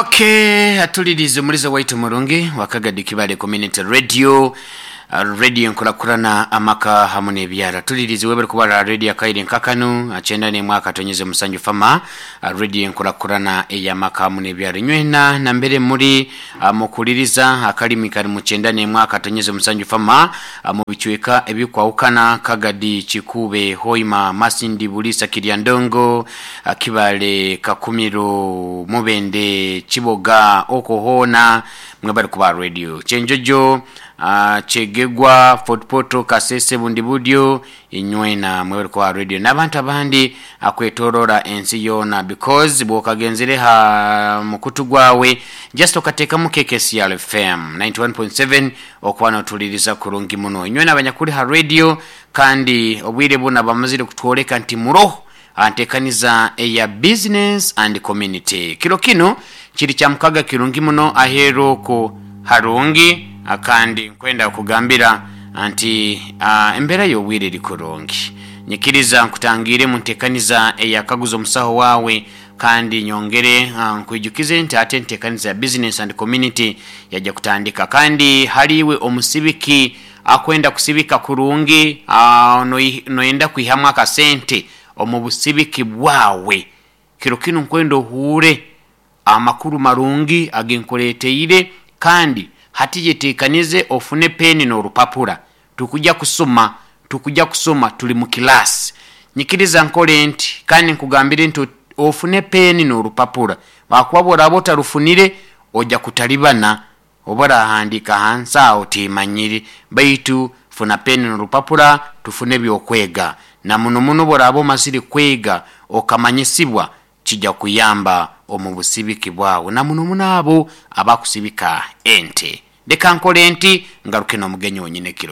Okay, atulirize omuliza waitu murungi wa Kagadi Kibale Community Radio, radio enkurakurana amaka hamu n'ebyaro. Tulirize webere kubara radio akaire nkakanu akyenda n'emwe akatonyeze musanju fama, radio enkurakurana ey'amaka hamu n'ebyaro. Inywena nambere muri mukuliriza akalimi kali mu kyenda n'emwe akatonyeze musanju fama, mu bicweka ebikwahukana Kagadi, Kikube, Hoima, Masindi, Bulisa, Kiryandongo, Kibale, Kakumiro, Mubende, Kiboga, okwo hoona mwebale kuba radio. Kyenjojo, Kyegegwa, Fort Portal, Kasese, Bundibudyo, inywena mwebale kuba radio. N'abantu abandi akwetorora ensi yoona because bwokagenzere ha mukutu gwawe just okateekamu KKCR FM 91.7 okuba notuliriza kurungi muno. Inywena abanyakuri ha radio kandi obwire buna bamazire kutworeka nti muroho antekaniza eya business and community. Kiro kinu kiri kya mukaga kirungi muno aheeru oku harungi kandi nkwenda kugambira nti embeera y'obwire eri kurungi. Nyikiriza nkutangiire mu ntekaniza eyakaguza omusaho waawe kandi nyongere nkwijukize nti ate entekaniza ya business and community yaija kutandika. Kandi hali iwe omusibiki akwenda kusibika kurungi, noyenda kwihamu akasente omu busibiki bwawe, kiro kinu nkwenda ohuure amakuru marungi agenkureeteire kandi hati yeteekanize ofune peeni n'orupapura. Tukujja kusoma, tukujja kusoma tuli mu kilaasi. Nyikiriza nkore nti kandi nkugambire nti ofune peeni n'orupapura ahakuba bworaba otarufunire oja kutalibana oba orahandiika hansi aho otiimanyire, baitu funa peeni n'orupapura tufune ebyokwega. Na muno muno obworaaba omazire kwega okamanyisibwa kija kuyamba omu busibiki bwawe na muno muno abo abakusibika ente. Leka nkore nti ngaruke n'omugenyi wonyini ekiro.